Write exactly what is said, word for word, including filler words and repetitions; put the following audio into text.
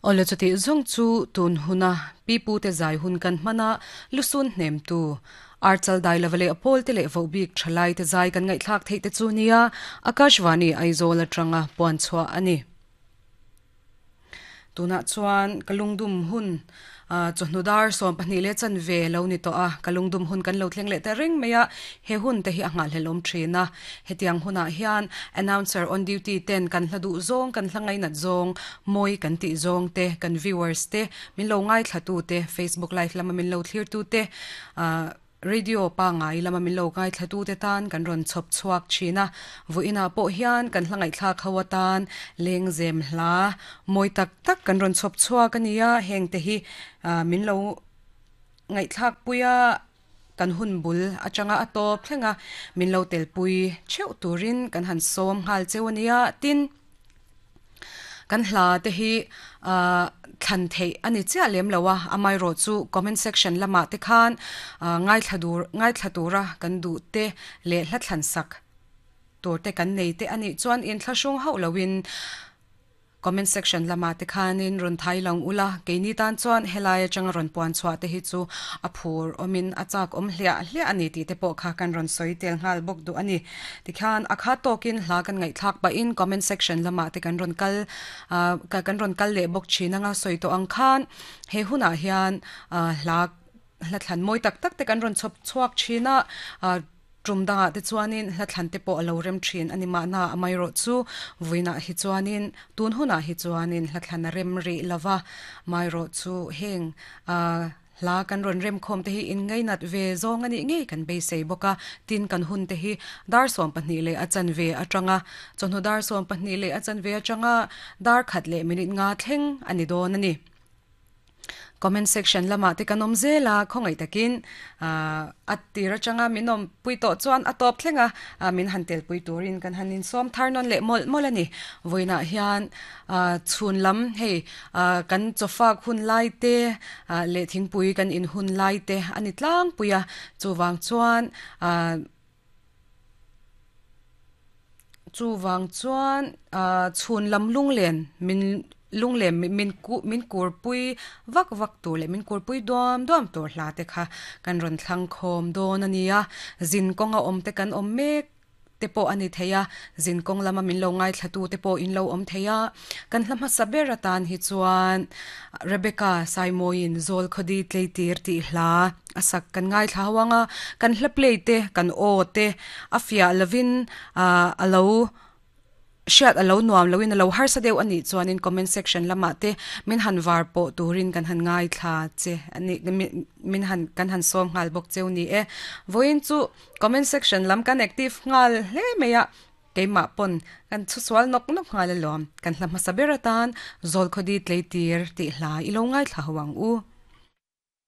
Ole chuti zong chu tun huna pipu te zai hun kan hmana lusun hnem tu archal dai lavale apol te le vobik thalai te zai kan ngai thlak thei te chu nia Akashvani Aizawl atanga puan chhuah ani. Tuna chuan kalungdum hun chawhnudar sawm pahnih le chan ve lo ni to a kalungdum hun kan lo thleng leh ta reng mai a he hun te hi a nghal hlelawm thin a hetiang hunah hian announcer on duty ten kan hla duh zawng kan hla ngainat zawng mawi kan tih zawng te kan viewers te min lo ngai thla tu te Facebook live lama min lo thlir tu te radio pa ngai lama min lo ngai thla tu te tan kan rawn chhawp chhuak thin a vuina pawh hian kan hla ngaih thlak ho atan lengzem hla mawi tak tak kan rawn chhawp chhuak ania heng te hi min lo ngaih thlak puia kan hun bul atanga a tawp thlenga min lo tel pui theuh turin kan han sawm nghal cheu ania tin kan hla te hi thlan thei ani chiah lem loa amai ro chu comment section lama te khan ngai thladur ngai thlatura kan du te le hla thlan sak tur te kan nei te ani chuan in thlahrung hauh loin comment section lama te khanin rawn thai lang ula keini tan chuan helai atanga rawn puan chhuah te hi chu a phur awmin a chak awm hliah hliah ani tih te pawh kha kan rawn sawi tel nghal bawk duh ani tikhan a kha tawkin hla kan ngaihthlak pahin comment section lama te kan rawn kal kan rawn kal leh bawk thin anga sawi tawh ang khan he hunah hian hla hla thlan mawi tak tak te kan rawn chhawp chhuak thin a tum danga te chuanin hla thlan te pawh alo rem thin ani mahna amai ro chu vuina hi chuanin tun huna hi chuanin hla thlan a rem ri lova mai ro chu heng a hla kan rawn rem khawm te hi in ngainat ve zawng ani ngei kan beisei bawka tin kan hun te hi dar sawm pahnih leh a chan ve atanga chawhnu dar sawm pahnih leh a chan ve atanga dar khat leh minute nga thleng ani dawn ani. Comment section lama te kan awm zela khawngaih takin a tir atanga min awm pui tawh chuan a tawp thlenga min han tel pui turin kan han insawm thar nawn leh mawlh mawlh ani vawiinah hian chhun lam hei kan chawfak hun lai te leh thingpui kan in hun lai te ani tlangpui a chuwang chuan chuwang chuan chhun lam lunglen min lunglem min ku min kurpui vak vak tur leh min kurpui duam duam tur hla te kha kan rawn thlang khawm dawn ania zin kawnga awm te kan awm mek te pawh ani theia zin kawng lama min lo ngai thlatu te pawh in lo awm theia kan hla hmasa ber atan hi chuan Rebecca Saimoin zawl khawdi tleitir tih hla a sak kan ngai thla hawanga kan hla play te kan aw te a fiah lovin a lo hriat alo nuam loin alo harsa deuh ani chuanin comment section lama te min han var pawh turin kan han ngai thla che ani min han kan han sawm nghal bawk cheu ni e vawiin chu comment section lam kan active nghal hle mai a keimah pawn kan chhusual nawk nawk nghal alawm kan hla hmasa ber atan zawl khawdi tleitir tih hla i lo ngai thla ho ang u.